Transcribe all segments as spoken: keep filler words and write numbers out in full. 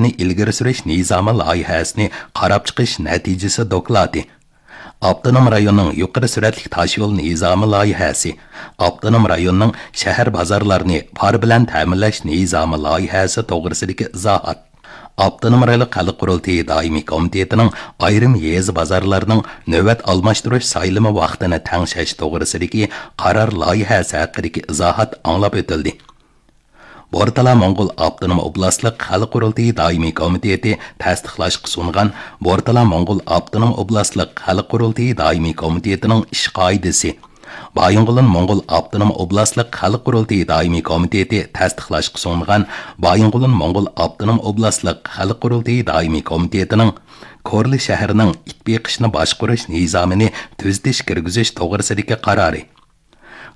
ئىلگىرى سۈرۈش نىزامى لايىھەسىنى قاراپ چىقىش نەتىجىسى دوكلاتى. ئاپتونوم رايوننىڭ يۇقىرى سۈرئەتلىك تاشيول نىزامى لايىھەسى، ئاپتونوم رايوننىڭ شەھەر بازارلارنى پار بىلەن تەمىنلەش نىزامى لايىھەسى توغرىسىدىكى ئىزاھات، ئاپتونوم رايونلۇق خەلق قۇرۇلتىيى دائىمىي كومىتېتىنىڭ ئايرىم يېزا بازارلىرىنىڭ نۆۋەت ئالماشتۇرۇش سايلىمى ۋاقتىنى تەڭشەش توغرىسىدىكى قارار لايىھەسى ھەققىدىكى ئىزاھات ئاڭلاپ ئۆتۈلدى. بورتالا موڭغۇل ئاپتونوم ئوبلاستلىق خەلق قۇرۇلتىيى دائىمىي كومىتېتى تەستىقلاشقا سۇنغان بورتالا موڭغۇل ئاپتونوم ئوبلاستلىق خەلق قۇرۇلتىيى دائىمىي كومىتېتىنىڭ ئىش قائىدىسى، بايىنغولىن موڭغۇل ئاپتونوم ئوبلاستلىق خەلق قۇرۇلتىيى دائىمىي كومىتېتى تەستىقلاشقا سۇنغان بايىنغولىن موڭغۇل ئاپتونوم ئوبلاستلىق خەلق قۇرۇلتىيى دائىمىي كومىتېتىنىڭ كورلا شەھىرىنىڭ ئىت بېقىشنى باشقۇرۇش نىزامىنى تۈزىتىش كىرگۈزۈش توغرىسىدىكى قارارى،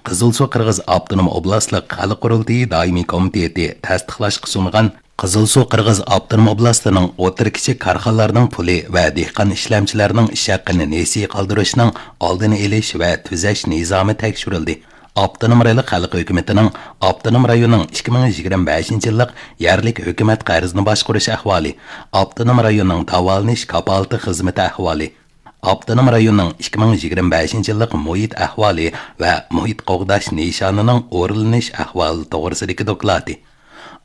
قىزىلسۇ قىرغىز ئاپتونوم ئوبلاستلىق خەلق قۇرۇلتىيى دائىمىي كومىتېتى تەستىقلاشقا سۇنغان قىزىلسۇ قىرغىز ئاپتونوم ئوبلاستىنىڭ ئوتتۇرا، كىچىك كارخانىلارنىڭ پۇلى ۋە دېھقان ئىشلەمچىلەرنىڭ ئىش ھەققىنى نېسى قالدۇرۇشنىڭ ئالدىنى ئېلىش ۋە تۈزەش نىزامى تەكشۈرۈلدى. ئاپتونوم رايونلۇق خەلق ھۆكۈمىتىنىڭ ئاپتونوم رايوننىڭ ئىككى مىڭ يىگىرمە بەشىنچى يىللىق يەرلىك ھۆكۈمەت قەرزىنى باشقۇرۇش ئەھۋالى، ئاپتونوم رايوننىڭ داۋالىنىش كاپالىتى خىزمىتى ئەھۋالى، ئاپتونوم رايوننىڭ ئىككى مىڭ يىگىرمە بەشىنچى يىللىق مۇھىت ئەھۋالى ۋە مۇھىت قوغداش نىشانىنىڭ ئورۇنلىنىش ئەھۋالى توغرىسىدىكى دوكلاتى،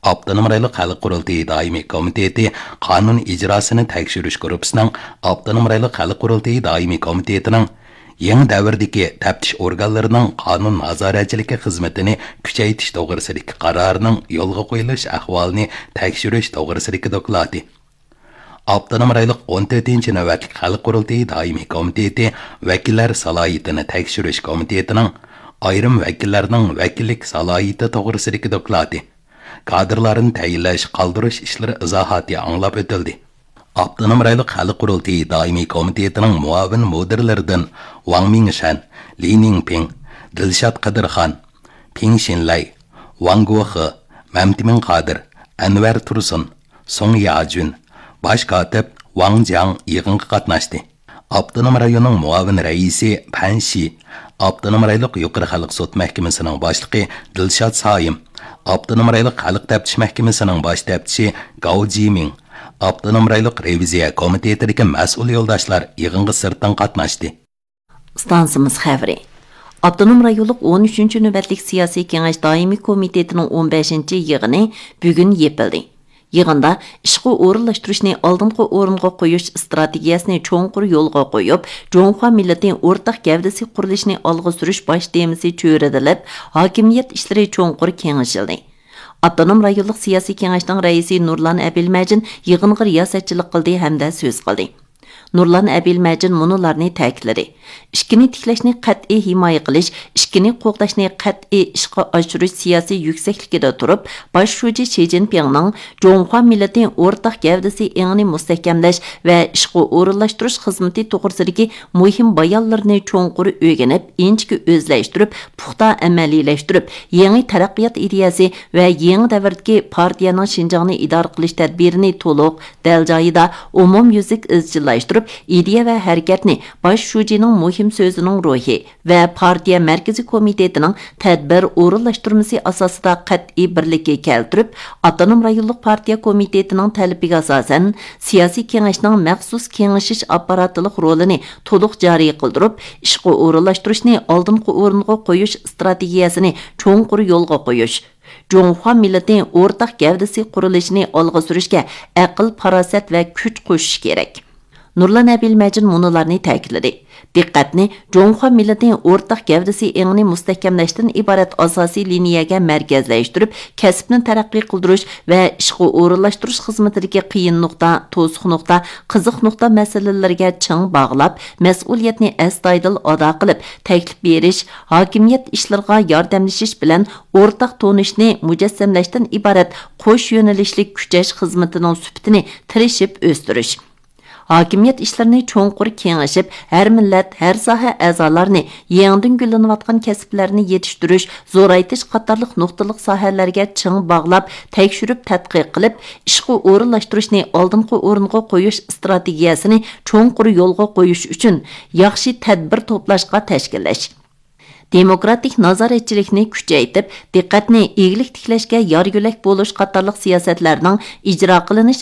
ئاپتونوم رايونلۇق خەلق قۇرۇلتىيى دائىمىي كومىتېتى قانۇن ئىجراسىنى تەكشۈرۈش گۇرۇپپىسىنىڭ ئاپتونوم رايونلۇق خەلق قۇرۇلتىيى دائىمىي كومىتېتىنىڭ يېڭى دەۋردىكى تەپتىش ئورگانلىرىنىڭ قانۇن نازارەتچىلىكى خىزمىتىنى كۈچەيتىش توغرىسىدىكى قارارىنىڭ يولغا قويۇلۇش ئەھۋالىنى تەكشۈرۈش توغرىسىدىكى دوكلاتى، ئاپتونوم رايونلۇق ئون تۆتىنچى نۆۋەتلىك خەلق قۇرۇلتىيى دائىمىي كومىتېتى ۋەكىللەر سالاھىيىتىنى تەكشۈرۈش كومىتېتىنىڭ ئايرىم ۋەكىللەرنىڭ ۋەكىللىك سالاھىيىتى توغرىسىدىكى دوكلاتى، كادىرلارنى تەيىنلەش، قالدۇرۇش ئىشلىرى ئىزاھاتى ئاڭلاپ ئۆتۈلدى. ئاپتونوم رايونلۇق خەلق قۇرۇلتىيى دائىمىي كومىتېتىنىڭ مۇئاۋىن مۇدىرلىرىدىن ۋاڭ مىڭشەن، لى نىڭپىڭ، دىلشات قىدىرخان، پىڭ شىنلەي، ۋاڭ گوخې، مەمتىمىن قادىر، ئەنۋەر تۇرسۇن، سۇڭ ياجۈن، باش كاتىپ ۋاڭ جياڭ يىغىنغا قاتناشتى. ئاپتونوم رايوننىڭ مۇئاۋىن رەئىسى پەن شى، ئاپتونوم رايونلۇق يۇقىرى خەلق سوت مەھكىمىسىنىڭ باشلىقى دىلشات سايىم، ئاپتونوم رايونلۇق خەلق تەپتىش مەھكىمىسىنىڭ باش تەپتىشى گاۋ جىمىڭ، ئاپتونوم رايونلۇق رېۋىزىيە كومىتېتىدىكى مەسئۇل يولداشلار يىغىنغا سىرتتىن قاتناشتى. ئىستانسىمىز خەۋىرى. ئاپتونوم رايونلۇق ئون ئۈچىنچى نۆۋەتلىك سىياسىي كېڭەش دائىمىي كومىتېتىنىڭ ئون بەشىنچى يىغىنى بۈگۈن يېپىلدى. يىغىندا ئىشقا ئورۇنلاشتۇرۇشنى ئالدىنقى ئورۇنغا قويۇش ئىستراتېگىيەسىنى چوڭقۇر يولغا قويۇپ، جۇڭخۇا مىللىتى ئورتاق گەۋدىسى قۇرۇلۇشىنى ئالغا سۈرۈش باش تېمىسى چۆرىدىلىپ، ھاكىمىيەت ئىشلىرى چوڭقۇر كېڭىشىلدى. ئاپتونوم رايونلۇق سىياسىي كېڭەشنىڭ رەئىسى نۇرلان ئەبىلمەجىن يىغىنغا رىياسەتچىلىك قىلدى ھەمدە سۆز قىلدى. نۇرلان ئەبىلمەجىن مۇنۇلارنى تەكىتلىدى: ئىككىنى تىكلەشنى قەتئىي ھىمايە قىلىش، ئىككىنى قوغداشنى قەتئىي ئىشقا ئاشۇرۇش سىياسىي يۈكسەكلىكىدە تۇرۇپ، باش شۇجى شى جىنپىڭنىڭ جۇڭخۇا مىللىتى ئورتاق گەۋدىسى ئېڭىنى مۇستەھكەملەش ۋە ئىشقا ئورۇنلاشتۇرۇش خىزمىتى توغرىسىدىكى مۇھىم بايانلىرىنى چوڭقۇر ئۆگىنىپ، ئىنچىكە ئۆزلەشتۈرۈپ، پۇختا ئەمەلىيلەشتۈرۈپ، يېڭى تەرەققىيات ئىدىيەسى ۋە يېڭى دەۋردىكى پارتىيەنىڭ شىنجاڭنى ئىدارە قىلىش تەدبىرىنى تولۇق، دەل جايىدا، ئومۇميۈزلۈك ئىزچىللاشتۇرۇپ، ئىدىيە ۋە ھەرىكەتنى باش شۇجىنىڭ مۇھىم سۆزىنىڭ روھى ۋە پارتىيە مەركىزىي كومىتېتىنىڭ تەدبىر ئورۇنلاشتۇرمىسى ئاساسىدا قەتئىي بىرلىككە كەلتۈرۈپ، ئاپتونوم رايونلۇق پارتىيە كومىتېتىنىڭ تەلىپىگە ئاساسەن، سىياسىي كېڭەشنىڭ مەخسۇس كېڭىشىش ئاپپاراتلىق رولىنى تولۇق جارى قىلدۇرۇپ، ئىشقا ئورۇنلاشتۇرۇشنى ئالدىنقى ئورۇنغا قويۇش ئىستراتېگىيەسىنى چوڭقۇر يولغا قويۇش، جۇڭخۇا مىللىتى ئورتاق گەۋدىسى قۇرۇلۇشىنى ئالغا سۈرۈشكە ئەقىل، پاراسەت ۋە كۈچ قوشۇش كېرەك. نۇرلان ئەبىلمەجىن مۇنۇلارنى تەكىتلىدى: دىققەتنى جۇڭخۇا مىللىتى ئورتاق گەۋدىسى ئېڭىنى مۇستەھكەملەشتىن ئىبارەت ئاساسىي لىنىيەگە مەركەزلەشتۈرۈپ، كەسىپنى تەرەققىي قىلدۇرۇش ۋە ئىشقا ئورۇنلاشتۇرۇش خىزمىتىدىكى قىيىن نۇقتا، توسۇق نۇقتا، قىزىق نۇقتا مەسىلىلىرىگە چىڭ باغلاپ، مەسئۇلىيەتنى ئەستايىدىل ئادا قىلىپ، تەكلىپ بېرىش، ھاكىمىيەت ئىشلىرىغا ياردەملىشىش بىلەن ئورتاق تونۇشنى مۇجەسسەملەشتىن ئىبارەت قوش يۆنىلىشلىك كۈچەش خىزمىتىنىڭ سۈپىتىنى تىرىشىپ ئۆستۈرۈش، ھاكىمىيەت ئىشلىرىنى چوڭقۇر كېڭىشىپ، ھەر مىللەت، ھەر ساھە ئەزالىرىنى، يېڭىدىن گۈللىنىۋاتقان كەسىپلەرنى يېتىشتۈرۈش، زورايتىش قاتارلىق نۇقتىلىق ساھەلەرگە چىڭ باغلاپ، تەكشۈرۈپ تەتقىق قىلىپ، ئىشقا ئورۇنلاشتۇرۇشنى ئالدىنقى ئورۇنغا قويۇش ئىستراتېگىيەسىنى چوڭقۇر يولغا قويۇش ئۈچۈن، ياخشى تەدبىر توپلاشقا تەشكىللەش، دېموكراتىك نازارەتچىلىكنى كۈچەيتىپ، دىققەتنى ئىگىلىك تىكلەشكە يار يۆلەك بولۇش قاتارلىق سىياسەتلەرنىڭ ئىجرا قىلىنىش